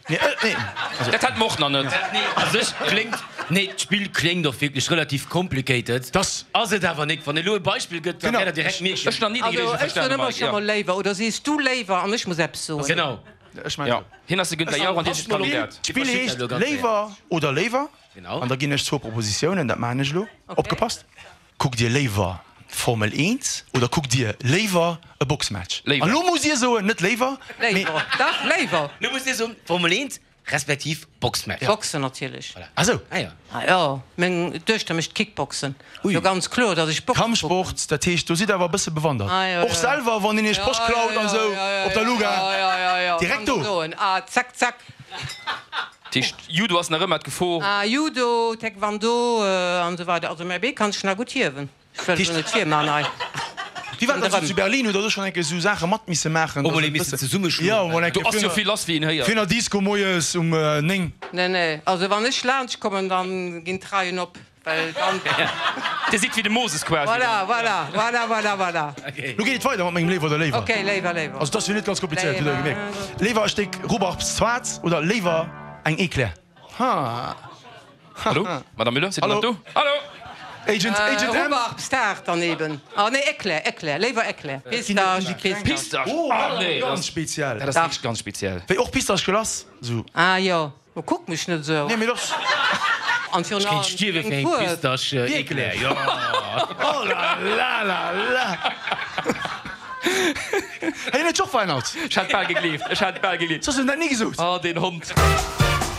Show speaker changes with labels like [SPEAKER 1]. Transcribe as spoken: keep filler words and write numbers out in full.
[SPEAKER 1] Nee, nee. Also,
[SPEAKER 2] Dat hat mer och nach net.
[SPEAKER 3] A sech kléngt, nee, d'Spill kléngt och wierklech relativ complicated.
[SPEAKER 1] Das.
[SPEAKER 3] Ass et awer nik. Wann elo e Beispill gëtt, da
[SPEAKER 1] Genau.
[SPEAKER 3] wäert der direkt mierken.
[SPEAKER 2] Ech hunn nach ni déi
[SPEAKER 4] Also
[SPEAKER 2] Reegel
[SPEAKER 4] ech soen
[SPEAKER 2] verstanen,
[SPEAKER 4] ëmmer
[SPEAKER 2] Mike.
[SPEAKER 4] scho
[SPEAKER 2] Ja.
[SPEAKER 4] mol léiwer oder sees du léiwer an ech muss eppes soen.
[SPEAKER 3] Genau.
[SPEAKER 1] Ech maachen
[SPEAKER 2] Ja.
[SPEAKER 1] esou.
[SPEAKER 2] Hien ass de Günther Jauch an dir sidd d'Kandidat.
[SPEAKER 1] D'Spill
[SPEAKER 3] Verschitt
[SPEAKER 1] heescht
[SPEAKER 3] dat elo ganz
[SPEAKER 1] Léiwer oder Léiwer.
[SPEAKER 3] Genau.
[SPEAKER 1] An da ginn ech zwou Propositiounen, dat maachen ech elo. Opgepasst. Kuckt Dir léiwer Formel eent oder kuckt Dir léiwer e Boxmatch?
[SPEAKER 2] Léiwer.
[SPEAKER 1] An elo musst Dir soen, net léiwer, mee.
[SPEAKER 4] Léiwer, dach, léiwer.
[SPEAKER 3] Lo musst Dir soen, Formel eent respektiv Boxmatch.
[SPEAKER 4] Boxen natierlech.
[SPEAKER 3] Voilà.
[SPEAKER 1] Ah sou.
[SPEAKER 3] Ah jo.
[SPEAKER 4] Ah jo, meng Duechter mécht Kickboxen. Jo, ganz kloer, datt ech Boxen kucken.
[SPEAKER 1] Kampfsport, dat heescht, do sidd Der awer e bësse bewandert.
[SPEAKER 4] Ah jo,
[SPEAKER 1] Och
[SPEAKER 4] jo.
[SPEAKER 1] selwer, wann een Iech d'Posch klaut an esou op der Luga.
[SPEAKER 4] Jo, jo, jo, jo,
[SPEAKER 1] Direkt do.
[SPEAKER 4] Kann soen. Ah, zack, zack.
[SPEAKER 2] Dat heescht, Judo ass nach ëmmer d'Gefor.
[SPEAKER 4] Ah, Judo, Taekwondo an esou weider. Also mäi Bee kann sech nach gutt hiewen. Ech wëll elo net virman hei.
[SPEAKER 1] Wéi war dat dann zu Berlin? Hutt Der do schonn eng Kéier esou Saache mat misse maachen?
[SPEAKER 3] Och mol ee missen zesummeschloen?
[SPEAKER 1] Jo, mol eng
[SPEAKER 2] Do
[SPEAKER 1] Kéier
[SPEAKER 2] ass jo vill lass, wéi een héiert.
[SPEAKER 1] Virun der Disco moies um néng.
[SPEAKER 4] Nee, nee, also wann ech laanscht kommen, dann ginn d'Reien op, well dann.
[SPEAKER 2] Dir sidd wéi de Moses quasi.
[SPEAKER 4] Voilà, voilà, voilà, voilà, voilà.
[SPEAKER 1] Lo geet et weider mat mengem Léiwer oder Léiwer.
[SPEAKER 4] Ok, Léiwer, Léiwer.
[SPEAKER 1] Also et ass jo net ganz komplizéiert, hutt Der jo gemierkt. Léiwer e Stéck Rubbarb-Zwart oder léiwer eng Eclair? Ha.
[SPEAKER 2] Hallo, Madame Müller, sidd Der nach do? Hallo!
[SPEAKER 1] Agent, Agent M.
[SPEAKER 4] Rubbarb-Start dann eben. Ah nee, Eclair, Eclair, léiwer Eclair. Pistasch, Pistasch.
[SPEAKER 2] Pistasch?
[SPEAKER 1] Oh,
[SPEAKER 2] Ah nee,
[SPEAKER 1] ganz
[SPEAKER 2] dat
[SPEAKER 1] speziell.
[SPEAKER 2] ass wierklech ganz speziell.
[SPEAKER 1] Wéi och Pistasch Glace, sou.
[SPEAKER 4] Ah jo, ma kuck mech net esou.
[SPEAKER 1] Nee, mee doch.
[SPEAKER 4] An virun
[SPEAKER 3] Ech kéint
[SPEAKER 4] allem
[SPEAKER 3] stierwe fir
[SPEAKER 4] eng
[SPEAKER 3] eng
[SPEAKER 4] Fuerf.
[SPEAKER 3] Pistasch Eclair, jo.
[SPEAKER 1] Oh la la la la. Hei, hien huet sech och verännert.
[SPEAKER 2] Ech hat bal gegleeft, ech hat bal gegleeft.
[SPEAKER 1] Soss huet en dat ni gesot.
[SPEAKER 2] Oh, deen Hond.